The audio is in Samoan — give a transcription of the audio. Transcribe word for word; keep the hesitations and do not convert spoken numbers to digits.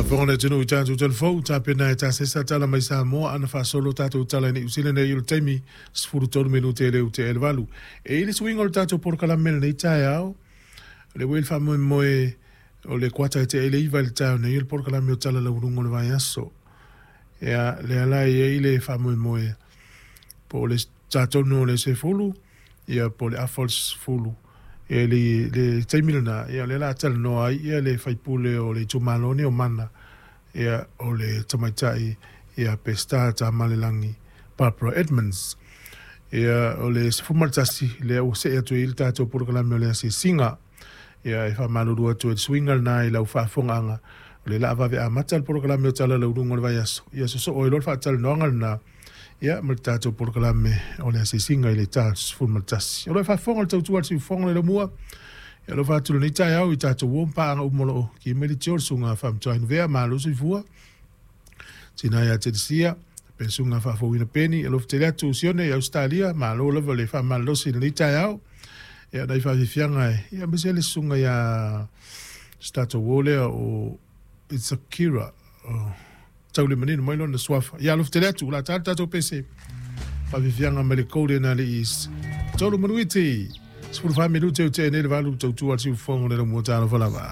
Faafofoga le atunuu i tatou telefou tapena e tasesa tala mai Samoa ana faasolo tatou tala i Niu Sila nei i le taimi sefulu tolu minute e le ute e le valu. E i le suiga o le tatou polokalame lenei taeao, le ua i le faamoemoe o le kuata e te ele iva i le taeao nei o le polokalame o tala laualuga o le vaiaso. Ia, lea la e i ai le faamoemoe po o le tatonu o le sefulu, ia po o le afa o le sefulu. Ia le, le taimi lena, ia o lea la talanoa ai ia le faipule o le itumalo nei o Mana, ia o le tamaitai ia Peseta Tamalelagi Barbara Edmonds. Ia o le sefulu ma le tasi, lea ua see atu ai le tatou polokalame o le asiasiga. Ia e faamalulu atu ai le suiga lena i lau faafofogaaga, o le la vave amata le polokalame o tala laualuga o le vaiaso. Ia sosoo ai loa le faatalanoaga lena, ia ma le tatou polokalame o le asiasiga i le ta sefulu ma le tasi. O lo o faafofoga le tautua a le siufofoga le lamua, ia alofa atu lenei taeao i tatou uo ma paaga uma o lo o ki mai le tio le susuga Faamatuainuvea, malo soifua, tina ia Telesia, pe le susuga Faafouina Peni, alofa tele atu Sione i Ausetalia, malo lava le faamalolosi i lenei taeao. Ia nai faafiafiaga e, ia aemaise le susuga ia se tatou uo lea o It's Akira, oh, taulimanino mai lona suafa. Ia alofa tele atu, la tā le tatou pese. Faafiafiaga mai le Golden Ali East. Tolu manuiti, sefulu fa minute o te nei le valu tautua a le siufofoga o le lamua talofa lava.